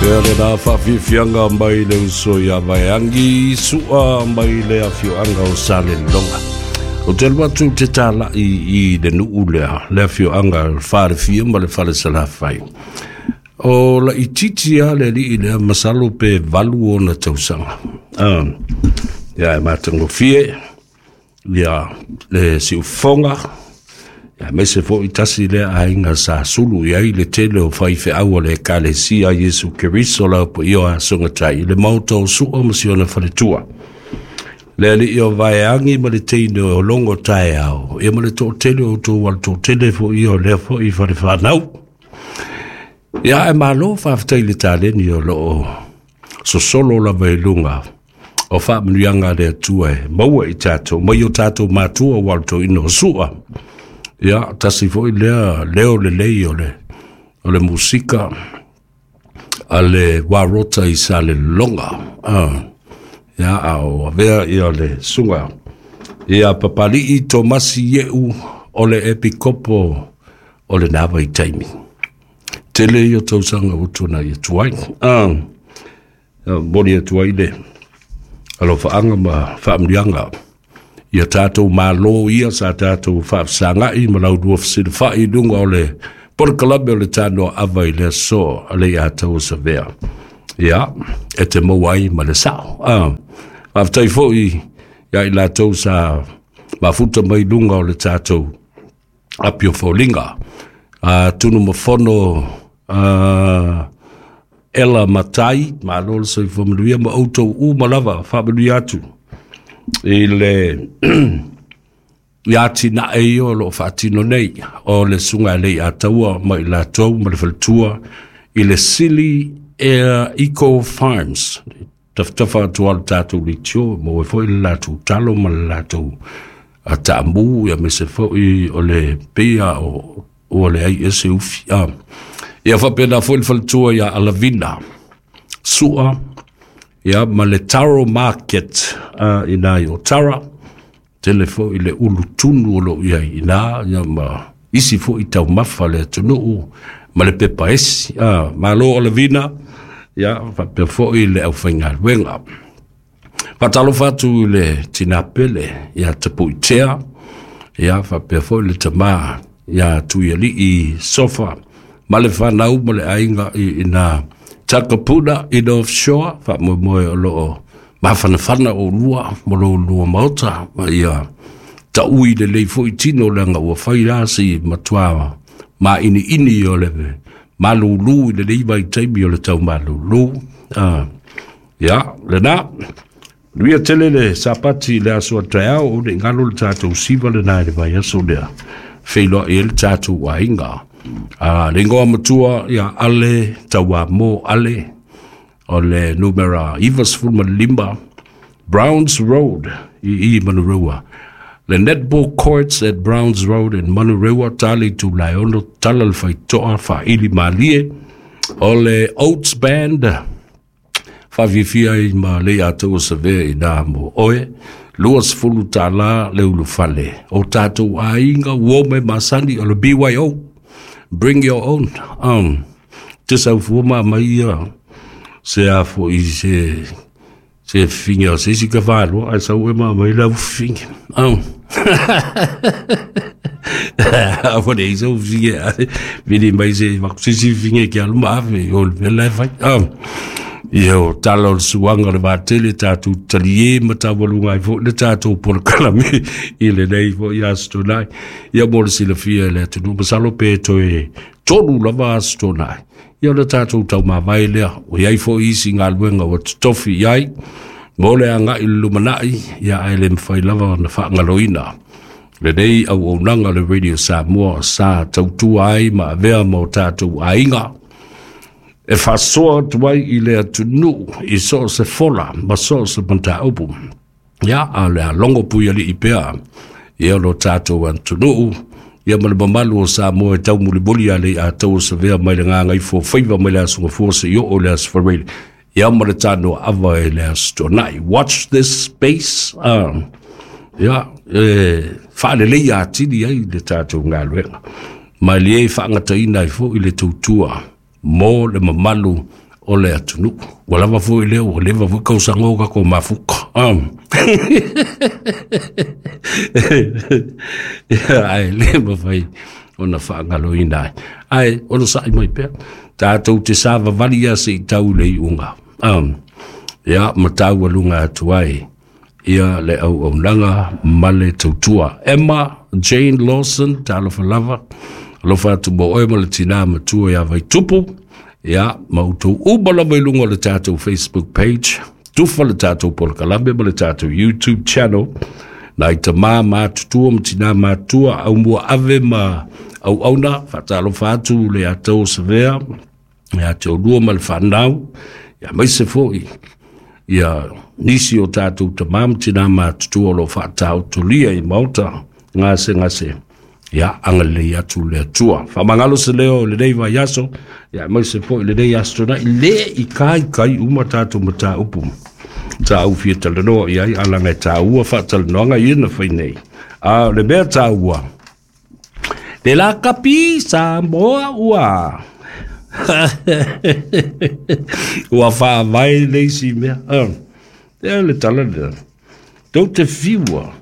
Ia lena faafiafiaga mai le uso ia Vaeagi Su'a mai le afioaga o Salelologa. Ou te alu atu ou te talai i le nuu lea, le afioaga o le Falefia ma le Falesalafai. O laitiiti lava le alii lea, masalo pe 8 ona tausaga. Ia e matagofie ia le siufofoga, aemaise foi tasi lea aiga sa sulu i ai le tele o faifeau a le Ekalesia a Iesu Keriso lau paia o Asogatai i le maota o Sua ma si ona faletua. Le alii o Vaeagi ma le teine o Logo Taeao, ia ma le toatele o outou alatoatele foi ia o lea foi fale fanau. Ia ae malo faafetai i le taleni o loo sosolo lava i luga o faamanuiaga a le Atua e maua i tatou mai o tatou matua ua alu o Sua. Ia, tasi foi lea leo lelei o le musika a le Warota i Salelologa. Ia, a o avea ia le suga ia Papali'i Tomasi Ieu o le Epikopo o le na vaitaimi. Tele ia tausaga ua tuanai atu ai. Momoli atu ai le alofaaga ma faamanuiaga ia tatou malo ia sa tatou faafesagai ma laulua fesilafai i luga o le polokalame o le Tanoa Ava i le aso a le Ataua Savea. Ia, e te maua ai ma le sao. Faafetai foi ia i latou sa mafuta mai luga o le tatou api o foliga. Tunumafono Ela Matai, malo le soifua manuia ma outou uma lava, faamanuia atu i le ia atinae ia o loo faatino nei o le susuga e le Ataua ma i latou ma le faletua i le Sili Air Eco Farms. Tafatafa atu le tatou leitio, maua foi le latou talo ma le latou taamu, ia aemaise foi o le peia o ua leai ese ufi. Ia faapena foi le faletua ia Alavina Sua, ia ma le Taro Market ina i Otara, tele foi le ulu tunu o loo iai ina, ia ma isi foi taumafa le atunuu ma le pepa esi. Malo Alavina, ia faapea foi le aufaigaluega. Faatalofa atu i le tina pele ia Tapuitea, ia faapea foi le tama ia Tuialii Sofa ma le fanau ma le aiga i ina Takapuna i North Shore, faamoemoe o loo mafanafana o lua ma lo lua maota, ma ia taui lelei foi tino leaga ua fai la si matua mainiini o le malulu i lenei vaitaimi o le tau malulu. Ia, lena, manuia tele le Sapati i le aso a taeao, o nei galo le tatou siva lena i le vaiaso lea, feiloai ai le tatou aiga. Le ingoa matua ia Ale Tauamo Ale, o le numera 95 Browns Road i Manurewa. Le netball courts at Browns Road in Manurewa, tali tulae ono, tala le faitoa, faaili malie, o le Oats Band, faafiafia ai ma le Ataua Savea i nā mo oe, $20 le ulufale. O tatou aiga, uo me masani o le BYO, bring your own. Te saufua ma mai ia, se a foi se finga o se isi ka whālua, ai sau e ma mai lau finga. A le sau finga, vili mai se vakusisi finga ki alu ma afe, o le mea la e fai. Ia o tala o le suaga o le vatele tatou talie ma taualuga ai foi le tatou polokalame i lenei foi aso tonai. Ia mo le silafia e le atunuu, masalo pe toe 3 lava aso tonai. Ia o le tatou taumavae lea, o iai foi isi galuega ua totofi i ai, mo le agai i le lumanai, ia ae le mafai lava ona faagaloina lenei auaunaga o le Radio Samoa sa tautua ai ma avea ma o tatou aiga, e faasoa atu ai i le atunuu i so o se fola ma so o se mataupu. Ia, a o le a logo puialii pea ia lo tatou atunuu, ia ma le mamalu o Samoa e taumulimuli a le Ataua Savea mai le gagaifo faiva mai le aso Gafua se i oo le aso Faraile, ia ma le Tanoa Ava i le aso Tuanai. Watch this space. Ia, e faalelei atili ai le tatou galuega. Ma e liei faagataina ai foi le tautua mo le mamalu o le atunuu. Ua lava foi lea, ua leva foi kausaga o tatou mafuta. Ia, ae le mafai ona faagaloina ai. Ae onosai mai pea, tatou te savavali ia se i tau i le iuga. Ia, ma taualuga atu ai ia le auaunaga ma le tautua. Emma Jane Lawson, talofa lava, alofa atu mo oe ma le tinā matua ia Vaitupu, ia, ma outou uma lava i luga o le tatou Facebook page, tufa le tatou polokalame ma le tatou YouTube channel, nai tamā matutua ma tinā matua, aumua ave ma auauna, faatalofa atu le atau o Savea, ia te oulua ma le fanau, ia aemaise foi ia nisi o tatou tamā ma tinā matutua o lo o faataotolia i maota gasegase, ia agalelei atu le Atua. Faamagalo se leo i lenei vaiaso, ia aemaise foi lenei aso Toonai, le i kaikai uma tatou mataupu sa ou fia talanoa i ai, ae leaga e taua faatalanoaga ia na fai nei. A o le mea taua, le lakapi Samoa ua ua faavae le isi mea. Ea le tala lea. Tou te fiua.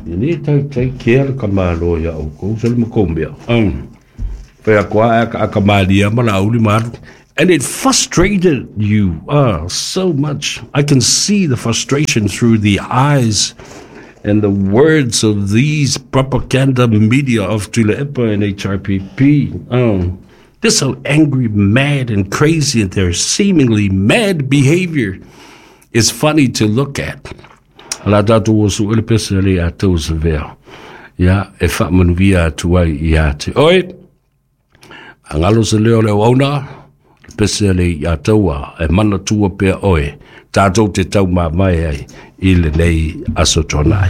E le taitai kea le tamaloa ia outou, se le matou mea. Fai atu a aka malia ma Laauli ma alu. And it frustrated you so much. I can see the frustration through the eyes and the words of these propaganda media of Tuilaepa and HRPP. They're so angry, mad, and crazy, and their seemingly mad behavior is funny to look at. La tatou o su ele pese le a tau sevea. Ia, e faamanuia atu ai ia te oe. Angalo se leo le auauna, le pese le ia taua, e manatua pea oe, tatou te tau mamae ai i lenei Aso Toonai.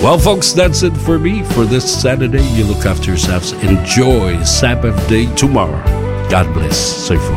Well, folks, that's it for me for this Saturday. You look after yourselves. Enjoy Sabbath day tomorrow. God bless. Soifua.